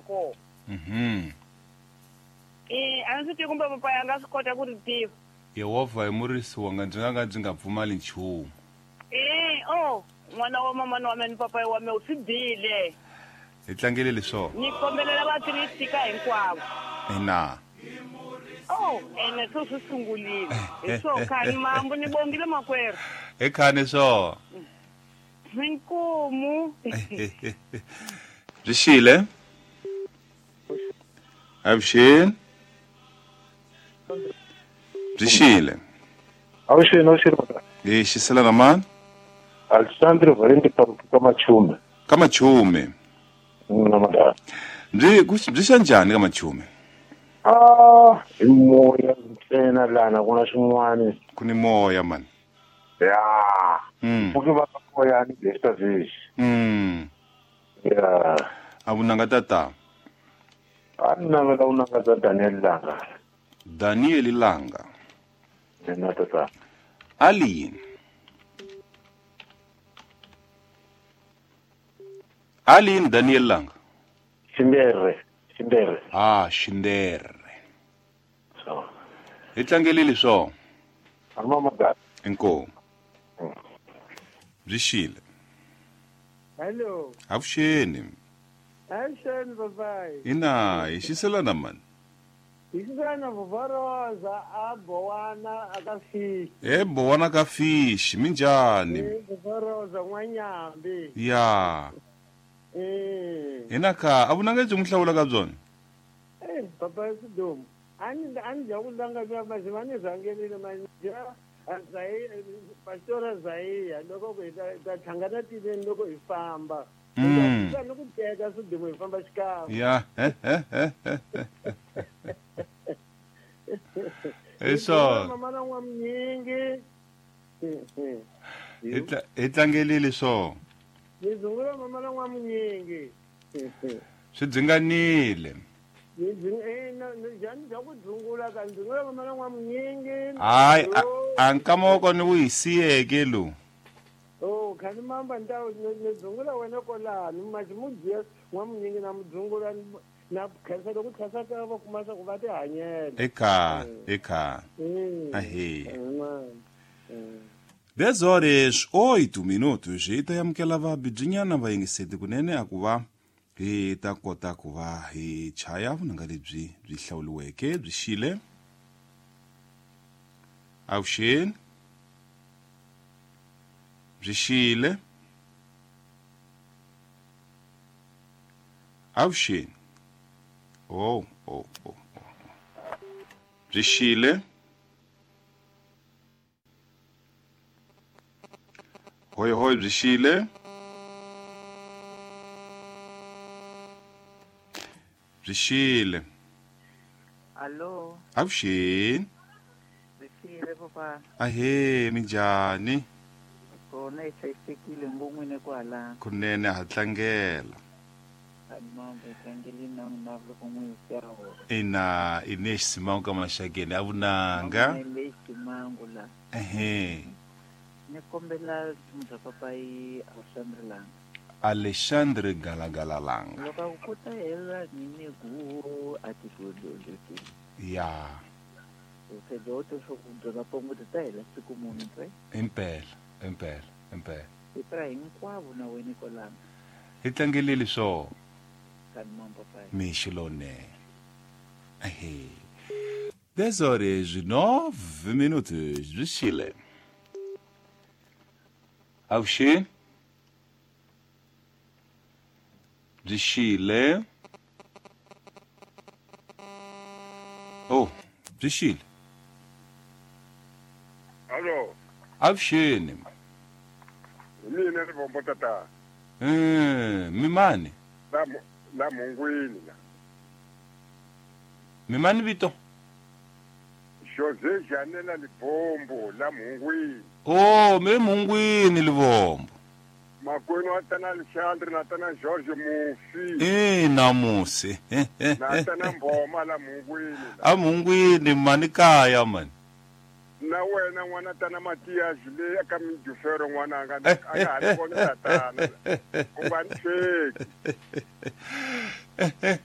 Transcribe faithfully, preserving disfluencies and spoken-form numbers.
Kona. Mhm. Eh, a ndzi tivi kumbe papa ya nga swi kota ku ri tiva. Yehovha hi murisi wanga ndzi nga ka ndzi nga pfumali nchumu. Eh, oh, n'wana wa mamana wa mina ni papa wa mina u swi bile. Hi tlangele leswo. Ni kombelela vakriste ka hinkwavo. Ina. Oh, ene swo swi sungulile. Hi swo khani mambo ni bongile makwerhu. Hi khani swo. Inkomu. Byi xile? Avuxeni. Byi xile. Avuxeni, avuxeni mhaka. Hi xisela na mani? Alexandre Valente ka Machume. Ka Machume. Na madala. Byi byi xa njhani ka Machume? Ah, hi moya ntsena lana ku na swin'wana. Ku ni moya mani. Ya. Mm. Pfuki va ka moya ni besta village. Mm. Ya. A vunanga tata. A ni navela vunanga bya Daniel Langa. Daniel Langa. Ina tata. Ali. Ali Daniel Langa. Xindere, Xindere. Ah, Xindere. So. Hi tlangelile swo. Mama madala. Inkomu. Byi xile. Hello. Avuxeni. Avuxeni papai. Ina, hi xiselana mani. Hi xiselana Vuvoroza a Bowana aka Fish. E Bowana ka Fish, minjhani? E Vuvoroza n'wanyambi. Ya. Eh. Ina ka a vunanga byi n'wi hlawula ka byona? Eh, papa Sidumo. A ni a ni dya vunanga bya masi va ni rhangelile mani dya Azai Pastor Azai loko hi ta ta hlangana tiveni loko hi famba. Mm. Ni ku teka Sidumo hi famba xikan'we. Ya. Hi swona. Mama na n'wamnyingi. Hi tla hi tlangelile swo. Ni dzungula mama na n'wamnyingi. Swi dzinganile. Ni njhani bya ku dzungula ka dzungula mama na n'wamnyingi. Hayi, a nkama wa kona wu hi siyeke lowu. Oh, khani mamba ni ta ni dzungula wena kwalano masi mu dya n'wamnyingi na mu dzungula na khensa loko khensa ka va kuma swa ku va ti hanyela. Eka, eka. Ahee. dez horas oito minutos hi ta amukela vabibyinyana va yingiseti kunene a ku va hi ta kota ku va hi chaya vunanga lebyi byi hlawuliweke byi xile. Avuxeni. Byi xile. Avuxeni. Oh, oh, oh, oh. Byi xile. Hoi hoi byi xile. Byi xile. Allo. Avuxeni. Byi xile papa. Ahee, minjhani? Kona hi hlayisekile ngon'wini kwala. Kunene ha tlangela. Ina ine ximangu ka maxakeni a vunanga. Ehe. Ni kombela bya papai Alexandre Langa. Alexandre Galagala Langa. Loko ku ta hela ni ku a ti ku Ya. Se do to swo ku bya pongo ta hela siku munhu ntsena. Impela, impela, impela. Hi pra hinkwavo na wena kwalano. Hi tlangelile swo. Mixo lowunene. Ahee. dez horas e nove minutos byi xile. Avuxeni. Byi xile. Oh, byi xile. Allo. Avuxeni. Mina ri vombo tata. Eh, mimani? La la mungwini la. Mimani vito? José Janela Libombo la mungwini. Oh, me mungwini Libombo. Makwenu wa tana Alexandre na tana George Mufi. Eh, na musi. Na tana Mboma la mungwini. A mungwini mani kaya mani. Na wena n'wana tana Matias le ka Midufero n'wana anga a nga ha ri kona tatana. U nga ni hleki.